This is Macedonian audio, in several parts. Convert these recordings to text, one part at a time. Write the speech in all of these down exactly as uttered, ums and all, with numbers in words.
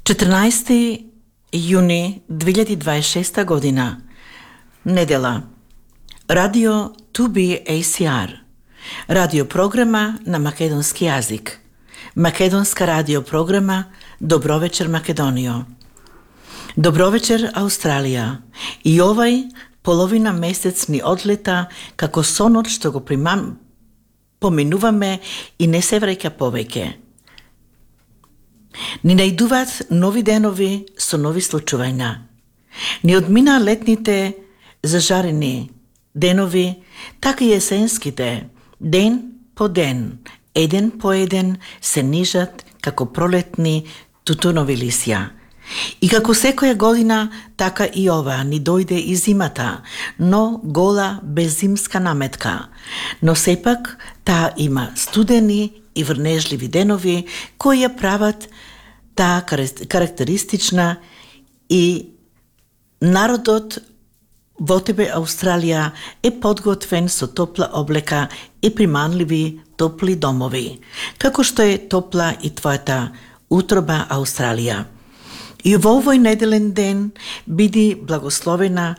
четрнаесети јуни две илјади дваесет и шеста година, недела. Радио ту би ей си ар, радиопрограма на македонски јазик. Македонска радиопрограма Добровечер Македонијо. Добровечер Австралија. И овај половина месец ни одлета како сонот што го примам, поминуваме и не се враќа повеќе. Ни најдуваат нови денови со нови случувања. Ни одмина летните зажарени денови, така и есенските, ден по ден, еден по еден се нижат како пролетни тутунови лисја. И како секоја година, така и ова ни дојде и зимата, но гола беззимска наметка. Но сепак таа има студени и врнежливи денови кои ја прават таа карактеристична, и народот во тебе Австралија е подготвен со топла облека и приманливи топли домови, како што е топла и твојата утроба Австралија. И во овој неделен ден биди благословена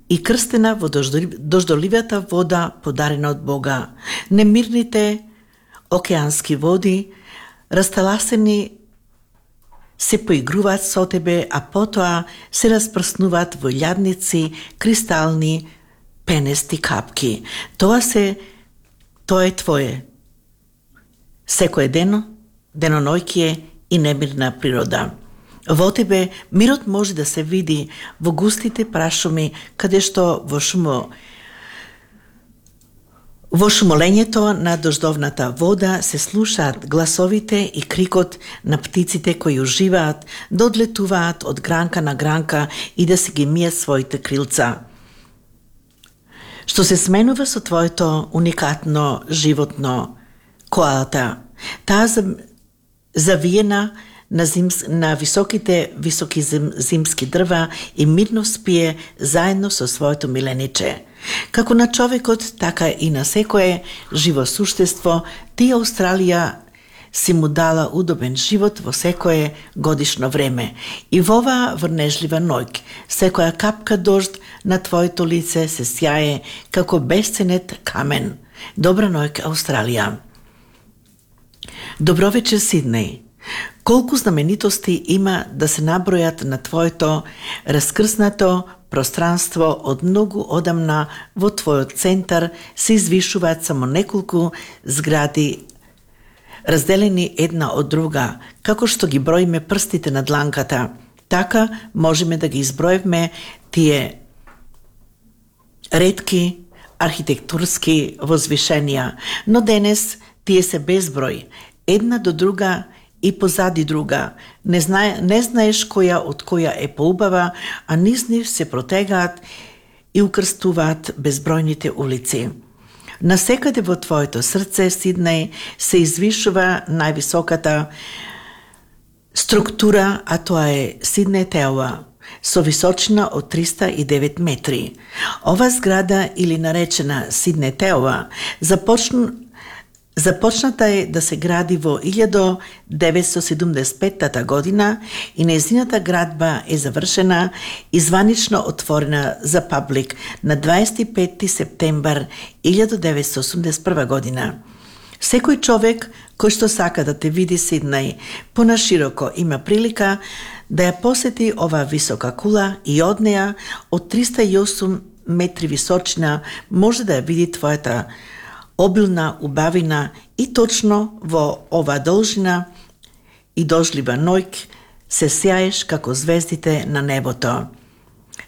и крстена во дождоливата вода подарена од Бога. Немирните океански води, расталасени, се поигруваат со тебе, а потоа се распрснуваат во илјадници, кристални, пенести капки. Тоа се, тоа е твое. Секој дено, денонојќие и немирна природа. Во тебе мирот може да се види во густите прашуми, каде што во шумо Во шумолењето на дождовната вода се слушаат гласовите и крикот на птиците кои уживаат да одлетуваат од гранка на гранка и да се ги мијат своите крилца. Што се сменува со твоето уникатно животно, коалата, таа завиена на, зимс, на високите високи зим, зимски дрва и мирно спие заедно со своето милениче. Како на човекот, така и на секое живо суштество, ти Австралија си му дала удобен живот во секое годишно време. И во оваа врнежлива ноќ, секоја капка дожд на твоето лице се сјае како бесценет камен. Добра ноќ, Австралија. Добровечер, Сиднеј. Колку знаменитости има да се набројат на твоето раскрснато пространство од многу одамна. Во твојот центар се извишуваат само неколку згради, разделени една од друга, како што ги броиме прстите на дланката. Така можеме да ги изброиме тие ретки архитектурски возвишенија, но денес тие се безброј, една до друга и позади друга. Не, знае, не знаеш која од која е поубава, а низ нив се протегаат и укрстуваат безбројните улици. Насекаде во твоето срце, Сиднеј, се извишува највисоката структура, а тоа е Сиднеј Теуа, со височина од триста и девет метри. Ова зграда, или наречена Сиднеј Теуа, започна Започната е да се гради во илјада деветстотини седумдесет и петта година и нејзината градба е завршена и званично отворена за паблик на дваесет и пети септембар илјада деветстотини осумдесет и прва година. Секој човек кој што сака да те види, Сиднеј, понашироко има прилика да ја посети оваа висока кула и од неа од триста и осум метри височина може да ја види твојата обилна убавина и точно во ова должина и дожлива ноќ се сјаеш како звездите на небото.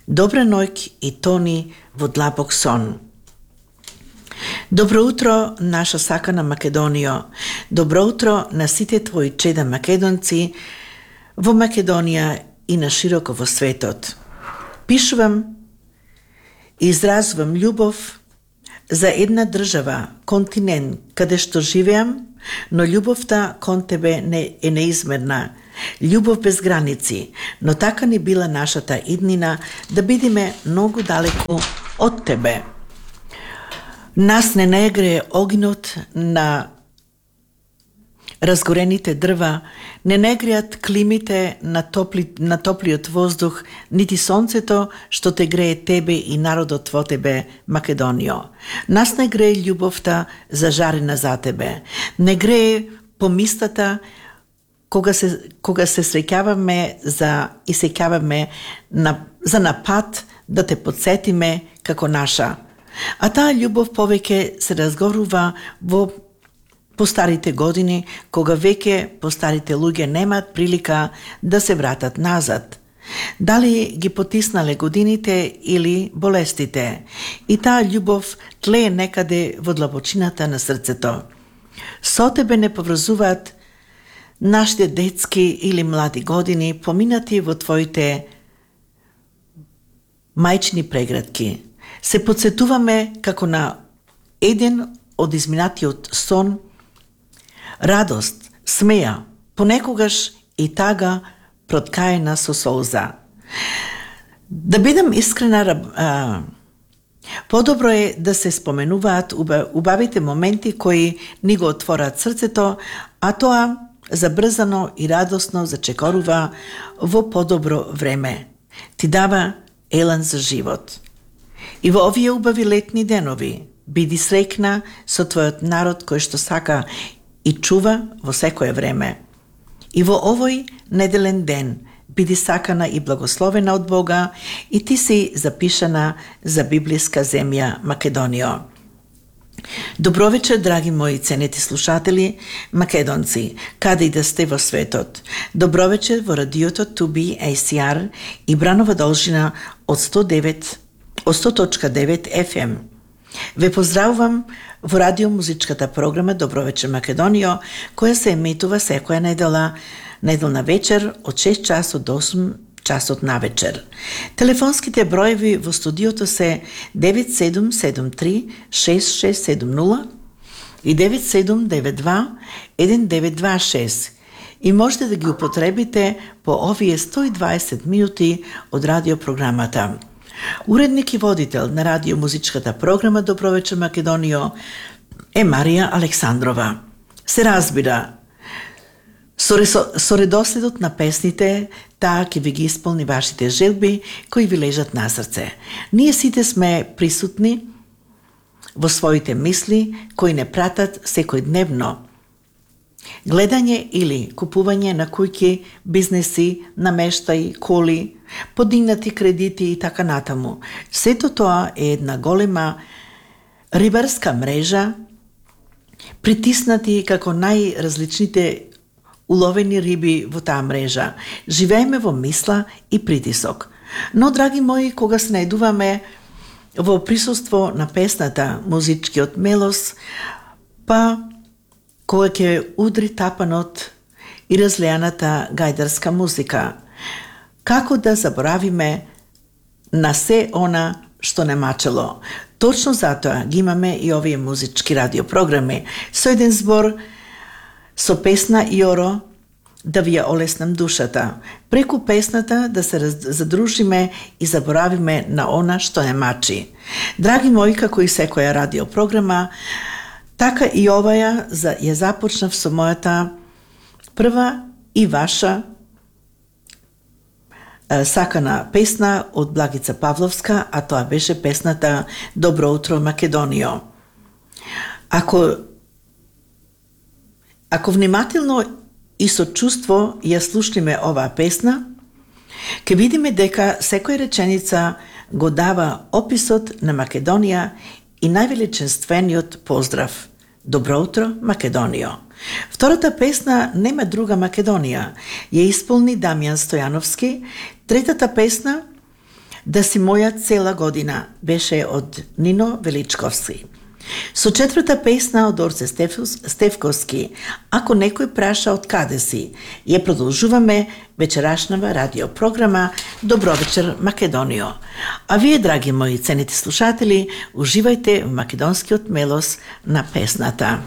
Добра ноќ и тони во длабок сон. Добро утро, наша сакана Македонијо. Добро утро на сите твои чеда македонци во Македонија и на широко во светот. Пишувам и изразувам љубов за една држава, континент, каде што живеам, но љубовта кон тебе не е неизмерна. Љубов без граници, но така ни била нашата иднина да бидиме многу далеко од тебе. Нас не најгрее огнот на разгорените дрва не не греат климите на, топли, на топлиот воздух, нити сонцето што те грее тебе и народот во тебе, Македонио. Нас не грее љубовта зажарена за тебе. Не грее помистата кога се, кога се среќаваме за, и сеќаваме на, за напад да те подсетиме како наша. А таа љубов повеќе се разгорува во постарите години, кога веќе постарите луѓе немаат прилика да се вратат назад. Дали ги потиснале годините или болестите, и таа љубов тлее некаде во длабочината на срцето. Со тебе не поврзуваат нашите детски или млади години, поминати во твоите мајчни преградки. Се подсетуваме како на еден од изминатиот сон, радост, смеја, понекогаш и тага проткаена со солза. Да бидам искрена, а, подобро е да се споменуваат убавите моменти кои ни го отворат срцето, а тоа забрзано и радосно зачекорува во подобро време. Ти дава елан за живот. И во овие убави летни денови биди среќна со твојот народ кој што сака и чува во секое време. И во овој неделен ден биди сакана и благословена од Бога, и ти си запишана за библиска земја Македонио. Добро вечер, драги мои ценети слушатели, македонци, каде и да сте во светот. Добро вечер во радиото Ту Би Ей Си Ар и Бранова должина од сто девет, од сто точка девет Еф Ем. Ве поздравувам во радиомузичката програма Добро вечер Македонио, која се еметува секоја недела, неделна вечер од шест часот до осум часот на вечер. Телефонските броеви во студиото се девет седум седум три шест шест седум нула и девет седум девет два еден девет два шест. И можете да ги употребите по овие сто и дваесет минути од радиопрограмата. Уредник и водител на радиомузичката програма Добро вечер Македонио е Марија Александрова. Се разбира, со, со редоследот на песните, таа ќе ви ги исполни вашите желби кои ви лежат на срце. Ние сите сме присутни во своите мисли кои не пратат секојдневно гледање или купување на куќи, бизнеси, намештаи, коли, подигнати кредити и така натаму. Сето тоа е една голема рибарска мрежа, притиснати како најразличните уловени риби во таа мрежа. Живееме во мисла и притисок. Но, драги мои, кога се најдуваме во присуство на песната, музичкиот мелос, па кога ќе удри тапанот и разлеаната гајдарска музика, како да заборавиме на се она што не мачело. Точно затоа ги имаме и овие музички радиопрограми со еден збор, со песна Јоро, да ви ја олеснам душата. Преку песната да се задружиме и заборавиме на она што не мачи. Драги мои, како и секоја радиопрограма, така и оваја ја започнав со мојата прва и ваша сакана песна од Благица Павловска, а тоа беше песната Добро утро Македонио. Ако Ако внимателно и со чувство ја слушнеме оваа песна, ќе видиме дека секоја реченица го дава описот на Македонија и највеличенствениот поздрав. Добро утро Македонио. Втората песна Нема друга Македонија ја исполни Дамјан Стојановски. Третата песна Да си моја цела година беше од Нино Величковски. Со четврта песна од Орце Стефковски, Ако некој праша од каде си, ја продолжуваме вечерашнава радиопрограма Добро вечер Македонио. А вие, драги мои ценети слушатели, уживајте в македонскиот мелос на песната.